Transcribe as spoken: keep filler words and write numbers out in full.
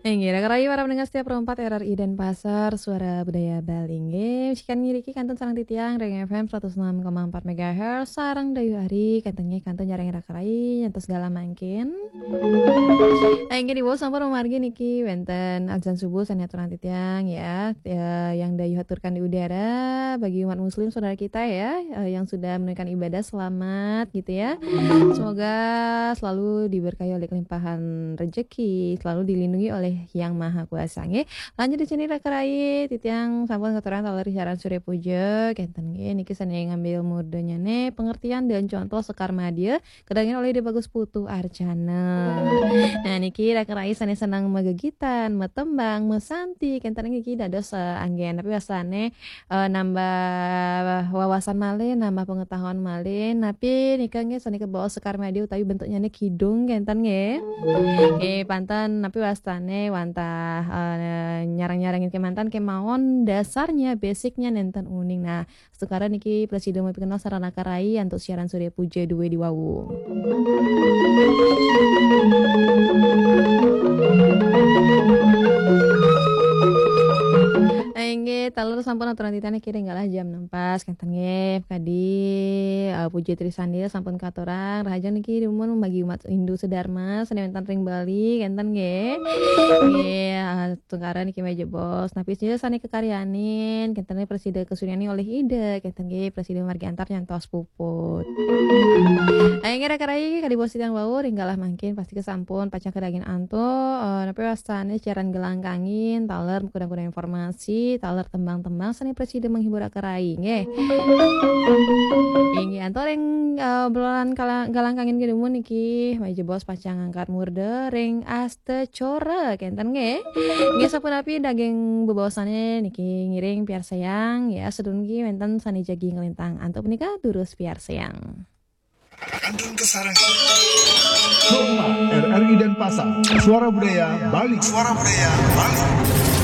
Inggih, raka rayi para pendengar setia Pro empat R R I Denpasar, Suara Budaya Bali. Inggih, sikan ngiriki kantun sareng titiang ring F M seratus enam koma empat megahertz, sareng Dayu Ari, kantun nggih, kantun nyarengin raka rayi, nyantos galah mangkin. Nah, inggih, diwau sampun mamargi niki wenten azan subuh sane aturang titiang, ya. Ya, yang Dayu haturkan di udara, bagi umat muslim saudara kita, ya, eh, yang sudah menunaikan ibadah, selamat gitu, ya. Semoga selalu diberkahi oleh kelimpahan rezeki, selalu dilindungi oleh Yang Maha Kuasa, nggih. Lanjut di sini raka rayi, titiang sampun katurang taler siaran Surya Puja, kenten nggih, niki sane ngambil murdenyane pengertian dan contoh Sekar Madya, kadangin oleh Ida Bagus Putu Arjana. Nah, niki raka rayi sane seneng magegitan, matembang, masanti, kenten niki dados, eh, anggen, tapi wasane, eh, nambah wawasan malih, nambah pengetahuan malih. Napi nika nggih sane kebawa Sekar Madya utawi bentuknyane kidung kenten nggih. Nggih, panten napi wastane wantah, eh, nyarang-nyarangin kemanten kemawon dasarnya, basicnya nenten uning. Nah, sekarang niki prasida mapikenal sareng raka rayi antuk siaran Surya Puja dua di wau. Inggih, taler sampun aturang titiang niki ring galah jam enam pas, kenten nggih. Kadi, eh, Puja Trisandil sampun katurang, rahajeng niki dumun bagi umat Hindu sedharma sane wenten ring Bali, kenten nggih. Nggih, eh, tungkara niki meja bos. Napi sida sane kekaryanin, kenten nggih prasida kasuryanin oleh Ida, kenten nggih prasida margi antar nyantos puput. Ayo nggih raka rayi, kadi bos titiang wau, ring galah mangkin pasti kesampun pacang kadaging antuk, eh, napi wastane siaran gelangkangin, taler kudang-kudang informasi, taler tembang-tembang sane prasida menghibur raka rayi, nggih. Inggih, antuk ring, eh, obrolan kala-, galangkangin nggih dumun niki, meja bos pacang ngangkat murda ring Asta Cora, kenten nggih. Nggih, sapunapi daging bebaosane niki ngiring piarsayang, ya, sedurung niki wenten sane jagi nglintang. Antuk punika durus piarsayang. Kantun kasareng. Pro empat R R I Denpasar, Suara Budaya Bali. Suara Budaya Bali.